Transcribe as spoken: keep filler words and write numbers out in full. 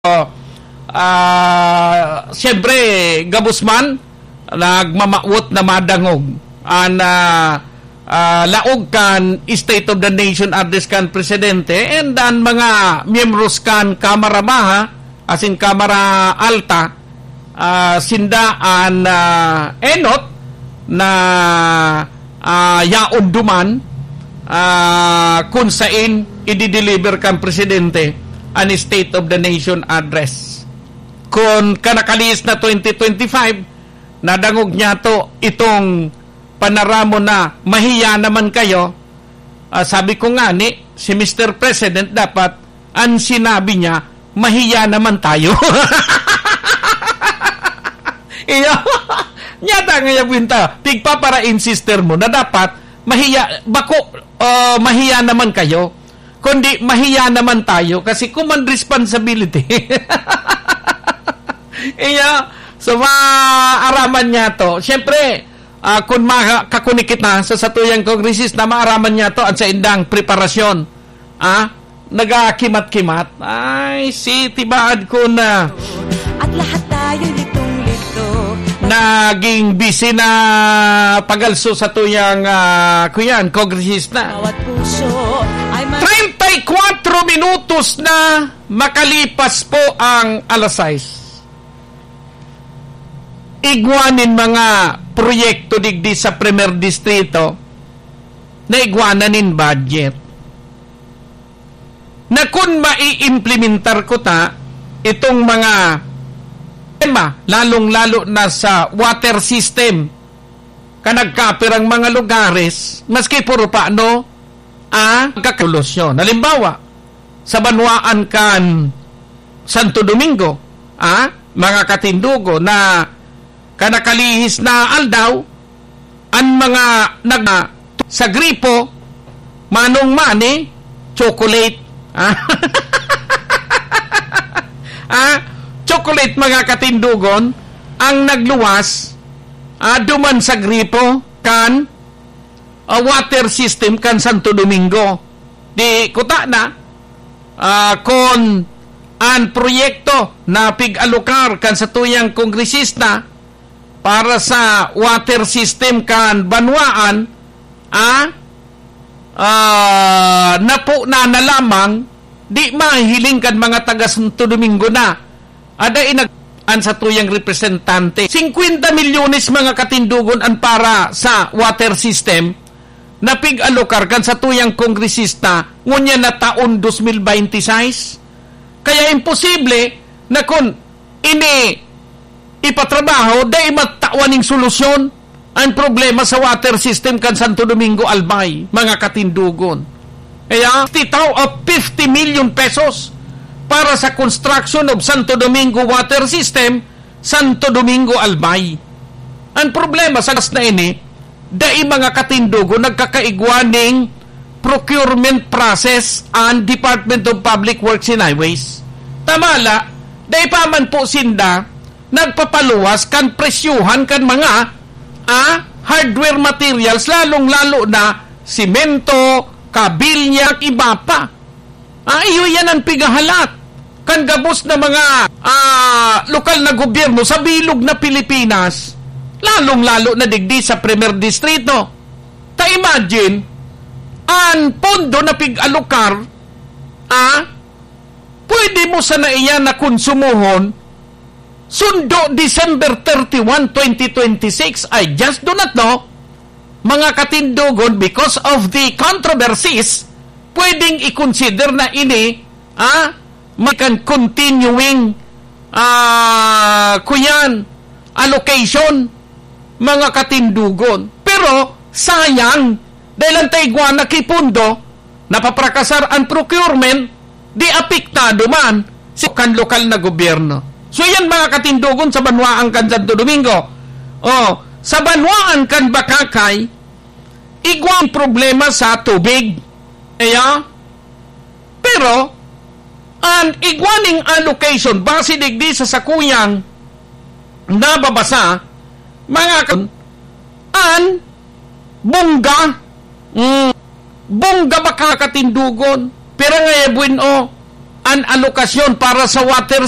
Ah, siyempre, gabos man, nagmamawot na madangog an, ah, ah, laog kan State of the Nation Address kan Presidente and an mga miyembros kan Kamara Baha, asin Kamara Alta, ah, sinda an, ah, enot na, ah, yaon duman, ah, kun sain idideliver kan Presidente an State of the Nation Address. Kun kanakalihis na twenty twenty-five, nadangog niyato itong panaramon na mahiya naman kayo. Ah, sabi ko nga ni, si Mister President dapat an sinabi niya, "Mahiya naman tayo." Iyo, nyata nga yabuin ta, pigpapara-insister mo na dapat mahiya, bako, ah, "Mahiya naman kayo," kundi "Mahiya naman tayo," kasi common responsibility. Iyo, so maaraman niyato. Siyempre, ah, kun makakunik kita sa satuyang kongresista, maaraman niyato an saindang preparasyon. Ah, nagakimat-kimat. Ay, si tibaad ko na. At lahat tayo litong-lito. Naging busy na pagalso satuyang, ah, kuyan, kongresista. Bawat puso ay ma- Treinta y cuatro minutos na makalipas po ang alas sais. Igwa nin mga proyekto digdi sa Primer Distrito na igwa na nin budget. Na kun maiimplementar ko ta itong mga tema, lalong-lalo na sa water system, kan nagkapirang mga lugares, maski puro pa, no? Ah, kakalusyon. Halimbawa, sa banwaan kan Santo Domingo, ah, mga katindogo, na kanakalihis na aldaw, an mga nag-, sa gripo, manong mani, chocolate. Ah? Ah, chocolate, mga katindogon, ang nagluwas, ah, duman sa gripo kan, ah, water system kan Santo Domingo. Di kuta na, ah, kon an proyekto na pig-alokar kan satuyang kongresista para sa water system kan banwaan, ah, ah, napo na na lamang, di mahiling kan mga taga Santo Domingo na. Ada inag-, an satuyang representante. Singkwenta milyones, mga katindogon, an para sa water system na pig-alokar kan satuyang kongresista ngunyan na taon dos mil bente y seis. Kaya imposible na kun ini ipatrabaho, dai matawan ning solusyon an problema sa water system kan Santo Domingo, Albay, mga katindogon. Kaya, titaw of fifty million pesos para sa construction of Santo Domingo water system, Santo Domingo, Albay. Ang problema sa gas na ini, dai, mga katindogon, nagkakaigwa ning procurement process an Department of Public Works and Highways. Tama la, dai pa man po sinda nagpapaluwas kan presyuhan kan mga, ah, hardware materials, lalong-lalo na simento, kabilya, iba pa. Ah, iyo yan ang pigahalat kan gabos na mga, ah, lokal na gobyerno sa bilog na Pilipinas, lalong-lalo na digdi sa Primer Distrito. Ta imagine, an pondo na pig-alokar, ah, pwede mo sana iyan na konsumohon sundo December thirty-one, twenty twenty-six. I just do not know, mga katindogon, because of the controversies, pwedeng i-consider na ini, ah, may kan continuing, ah, kuyan, allocation, mga katindogon. Pero, sayang, dahil ang taigwa na kipundo, napaprakasar ang procurement, di apektado man si kan lokal na gobyerno. So, yan, mga katindogon, sa banwaan kan Santo Domingo. O, sa banwaan kan Bacacay, igwa ang problema sa tubig. Kaya, pero, an igwa ning allocation, base digdi sa sakuyang nababasa, mga kan-, an bongga, mm, bongga ba ka katindogon? Pero nga, eh, bueno, an alokasyon para sa water